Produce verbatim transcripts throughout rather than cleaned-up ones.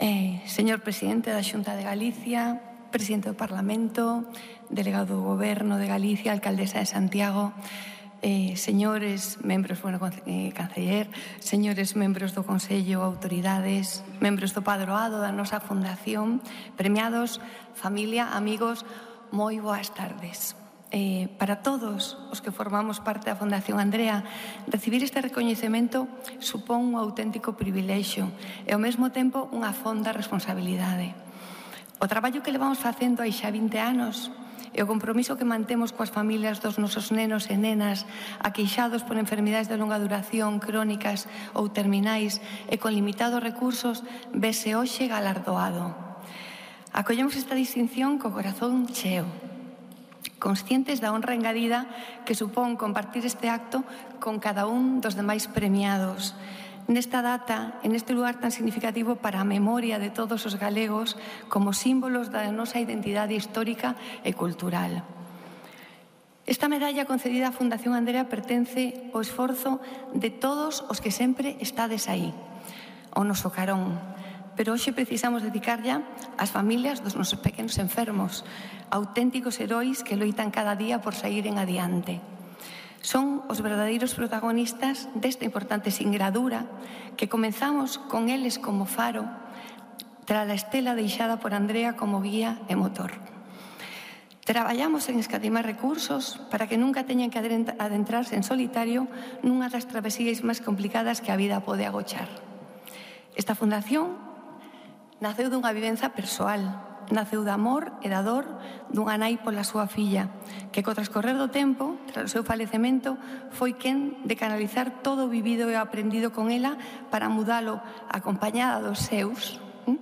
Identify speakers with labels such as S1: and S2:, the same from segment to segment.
S1: Eh, señor presidente da Xunta de Galicia, presidente do Parlamento, delegado do Goberno de Galicia, alcaldesa de Santiago, eh, señores membros, bueno, eh, canceller, señores membros do Consello, autoridades, membros do padroado da nosa fundación, premiados, familia, amigos, moi boas tardes. Eh, para todos os que formamos parte da Fundación Andrea, recibir este recoñecemento supón un auténtico privilexio e ao mesmo tempo unha fonda responsabilidade. O traballo que levamos facendo hai xa vinte anos e o compromiso que mantemos coas familias dos nosos nenos e nenas aqueixados por enfermidades de longa duración, crónicas ou terminais e con limitados recursos, vese hoxe galardoado. Acollemos esta distinción co corazón cheo, conscientes da honra engadida que supón compartir este acto con cada un dos demais premiados. Nesta data, en este lugar tan significativo para a memoria de todos os galegos como símbolos da nosa identidade histórica e cultural. Esta medalla concedida á Fundación Andrea pertence ao esforzo de todos os que sempre estades aí, ao noso carón. Pero hoxe precisamos dedicarlla ás familias dos nosos pequenos enfermos, auténticos heróis que loitan cada día por saíren adiante. Son os verdadeiros protagonistas desta importante singradura que comenzamos con eles como faro tras a estela deixada por Andrea como guía e motor. Traballamos en escatimar recursos para que nunca teñan que adentrarse en solitario nunha das travesías máis complicadas que a vida pode agochar. Esta fundación naceu dunha vivenza persoal, naceu de amor e da dor dunha nai pola súa filla, que co transcorrer do tempo, tras o seu falecemento, foi quen de canalizar todo o vivido e aprendido con ela para mudalo acompañada dos seus hm?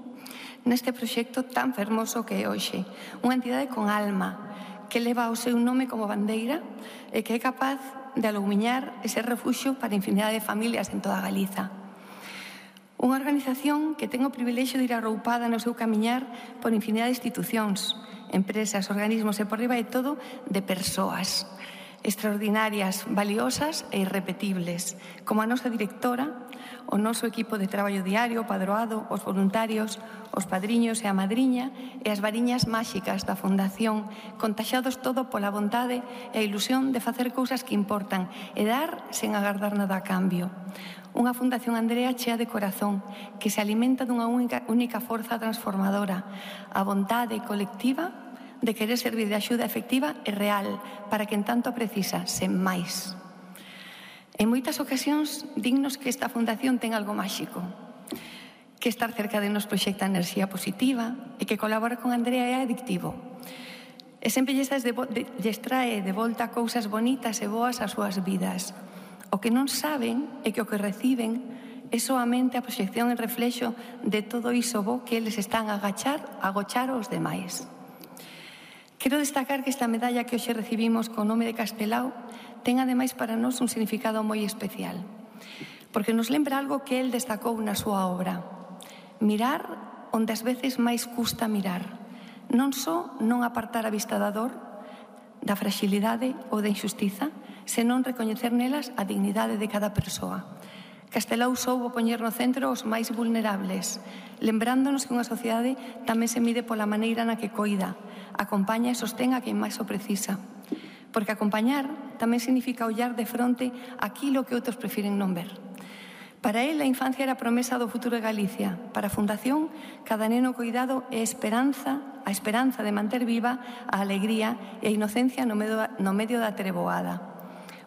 S1: neste proxecto tan fermoso que é hoxe. Unha entidade con alma, que leva o seu nome como bandeira e que é capaz de alumiñar ese refuxio para infinidade de familias en toda Galiza. Unha organización que ten o privilexio de ir arroupada no seu camiñar por infinidade de institucións, empresas, organismos e por riba de todo de persoas extraordinarias, valiosas e irrepetibles, como a nosa directora, o noso equipo de traballo diario, o padroado, os voluntarios, os padriños e a madriña e as variñas máxicas da Fundación, contaxados todo pola vontade e a ilusión de facer cousas que importan e dar sen agardar nada a cambio. Unha Fundación Andrea chea de corazón, que se alimenta dunha única, única forza transformadora, a vontade colectiva de querer servir de axuda efectiva e real para quen tanto precisa, sen máis. En moitas ocasións, dignos que esta fundación ten algo máxico, que estar cerca de nos proxecta enerxía positiva e que colaborar con Andrea é adictivo. E sempre lles trae de volta cousas bonitas e boas ás súas vidas. O que non saben é que o que reciben é soamente a proxección e reflexo de todo iso bo que eles están a agachar, a agochar aos demais. Quero destacar que esta medalla que hoxe recibimos co nome de Castelao ten ademais para nós un significado moi especial, porque nos lembra algo que el destacou na súa obra: mirar onde ás veces máis custa mirar, non só non apartar a vista da dor, da fragilidade ou da injustiza, senón recoñecer nelas a dignidade de cada persoa. Castelao soubo poñer no centro os máis vulnerables, lembrándonos que unha sociedade tamén se mide pola maneira na que coida, acompaña e sostén a quen máis o precisa. Porque acompañar tamén significa ollar de fronte aquilo que outros prefiren non ver. Para él, a infancia era a promesa do futuro de Galicia. Para a Fundación, cada neno coidado é esperanza, a esperanza de manter viva a alegría e a inocencia no medio, no medio da treboada.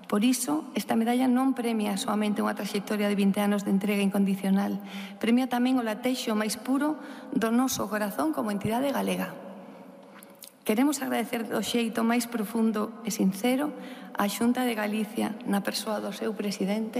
S1: Por iso, esta medalla non premia soamente unha traxectoria de vinte anos de entrega incondicional, premia tamén o latexo máis puro do noso corazón como entidade galega. Queremos agradecer do xeito máis profundo e sincero á Xunta de Galicia, na persoa do seu presidente,